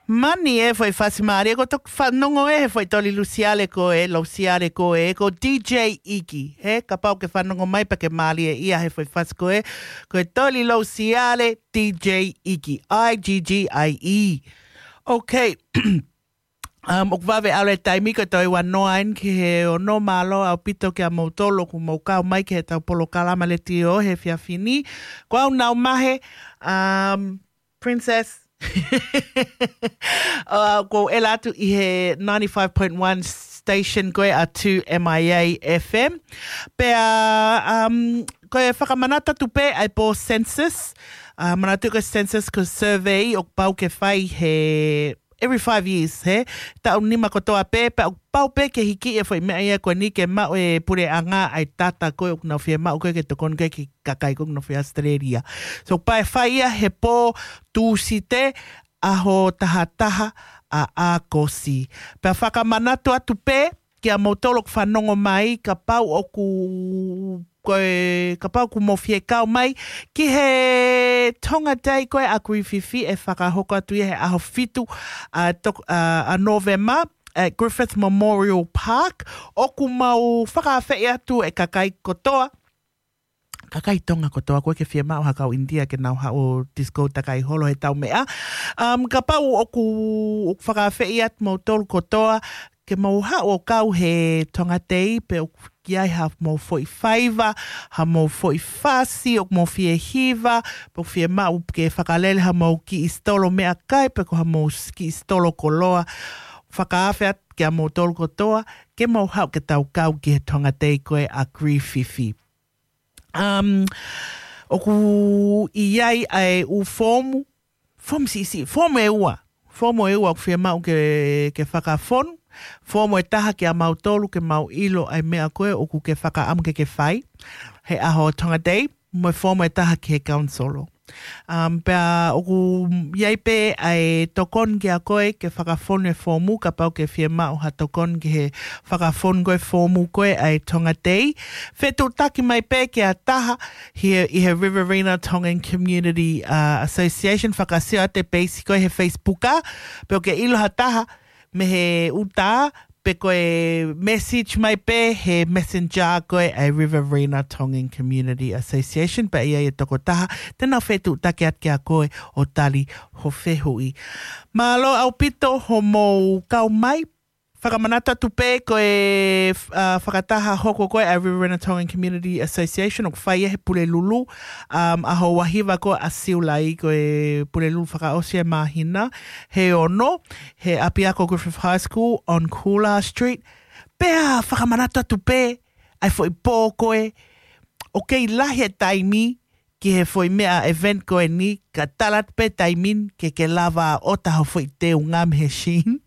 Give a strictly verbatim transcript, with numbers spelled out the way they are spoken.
Mani e foʻi fasi mālie, ko toki fanongo ē he foʻi toli Lusiale ko ē, Lusiale ko ē, ko D J Iki. He, kapau ke fanongo mai pea ke mālie ia he foʻi fasi ko ē, ko e toli Lusiale D J Iki, I G G I E. Okay. Um, ʻoku vave ʻalu e taimi ko e toe ua noa eni ki he ono. Mālō ʻaupito kia moutolu ʻoku mou kau mai ki heʻetau polokalama letiō he efiafi ni. Ko au Nau Mahe, um, Princess. Uh, ko e ʻalu atu ʻi he ninety-five point one station ko ē ʻa two M I A F M. Pea, um, ko e fakamanatu atu pē ʻa e pō census. Uh, manatu ko e census ko e survey ʻoku pau ke fai he every five years, he? Taʻu nima kotoa pē, pea ʻoku pau pē ke hiki e foʻi meʻa ia ko eni ke maʻu e puleʻanga ʻa e data ko ē ʻoku nau fiemaʻu ko ē ke tokoni ko ē ki he kakai ko ē ʻoku nofo ʻi Australia. So, pea ʻe fai ia he pō Tūsite, ʻaho taha taha ʻa ʻAokosi. Pea fakamanatu atu pē kia moutolu ʻoku fanongo mai, kapau ʻoku, ko e, kapau ʻoku mou fie kau mai ki he Tonga Day ko ē ʻa Griffith, ʻe fakahoko atu ia he ʻaho fitu ʻa tok-, ʻa, ʻa Novema, at Griffith Memorial Park. ʻOku mau fakaafeʻi atu e kakai kotoa, kakai Tonga kotoa, ʻoku ʻikai ke fiemaʻu ha kau ʻInitia ke nau haʻu ʻo disco takai holo he ʻetau meʻa. Um, kapau ʻoku, ʻoku fakaafeʻi atu moutolu kotoa ke mou haʻu ʻo kau he Tonga Day, pe ʻoku ʻi ai ha mou foʻi faiva, ha mou foʻi fasi ʻoku mou fie hiva, pe ʻoku fiemaʻu ke fakalele ha mou kiʻi sitolo meʻakai, pe ko ha mou s-, kiʻi sitolo koloa, fakaafe atu kia moutolu kotoa ke mou haʻu ke tau kau ki he Tonga Day ko ē ʻa Griffith. Um, ʻoku ʻi ai ʻa e ʻū foomu, foomu siʻisiʻi, foomu ʻe ua. Foomu ʻe ua ʻoku fiemaʻu ke, ke fakafonu. Foomu ʻe taha kia mautolu ke mau ʻilo ʻa e meʻa ko ē ʻoku ke fakaʻamu ke ke fai he ʻaho Tonga Day, mo e foomu ʻe taha ki he kaunisolo. Um, pea ʻoku ʻi ai pē ʻa e tokoni kia koe ke fakafonu e foomu, kapau ʻoku ke fiemaʻu ha tokoni ki he fakafonu ko ē foomu ko ē ʻa e Tonga Day. Fetuʻutaki mai pē kia taha ʻi he, ʻi he Riverina Tongan Community, uh, Association, fakasio atu e peisi ko ē he Facebook, ā, pe ʻoku ke ʻilo ha taha mei he ʻuta, pe ko e message mai pē he messenger ko ē ʻa e Riverina Tongan Community Association, pea ʻi ai e tokotaha te nau fetuʻutaki atu kia koe ʻo tali ho fehuʻi. Mālō ʻaupito hoʻomou kau mai. Fakamanatu atu pē ko e, uh, fakataha hoko ko ē ʻa e Riverina Tongan Community Association ʻoku fai ia he Pulelulu, um, ʻaho ua hiva ko ē ʻa Siulai, ko e Pulelulu fakaʻosi e māhina, he ono, he ʻapiako Griffith High School on Coolidge Street. Pea fakamanatu atu pē ʻa e foʻi pō ko ē, ʻoku kei lahi e taimi ki he foʻi meʻa event ko eni, ka tala atu pē taimi ni ke ke lava ʻo ʻota ho foʻi teunga mei he Shein.